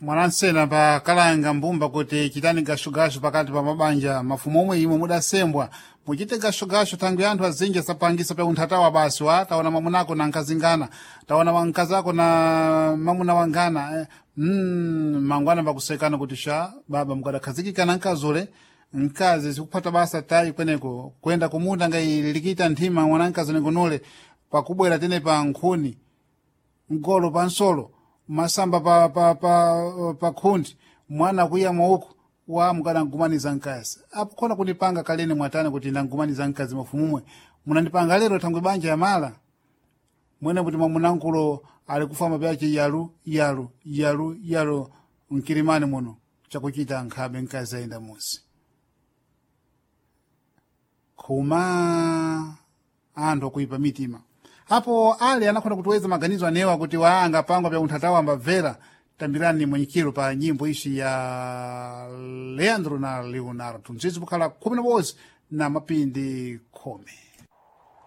Mwanansena pa kalanga mbumba kuti chitani gashugashu pakati pa mabanja mafumu omwe imwe mudasembwa muchite gashugashu thangwi anthu azinji asapangisa pa unthatawa basi wa taona mamunako na nkazingana, taona mkazako na mamuna wangana, mangwana pakusekana kuti sha baba mukadakhazikikana nkazule mkazi sikuphata basa tayi kweneko kwenda kumunda ngayilikita nthima mwana mkazi nengonole pakubwera tene pa nkhuni mgolo pa nsolo masamba pa khundi mwana kuya mwauku wa mukadangumaniza mkazi apo khona kundipanga kalene mwatani kuti ndangumaniza mkazi mafumumwe munandipanga lero thangwi banja yamala mwene kuti mwamunankulo ali kufamba pyace yalu yalu yalu yalu mkilimani muno chakuchita nkhabe mkazi ayenda musi khuma anthu akuipa mitima. Apo ali anakhona kutiweza maganizo anewa kuti waanga pangwa pya unthatawa ambabvera. Tambirani mwenyikiro pa nyimbo ici ya Leandro na Leonardo, mzizi kukhala 11 na mapindi 10.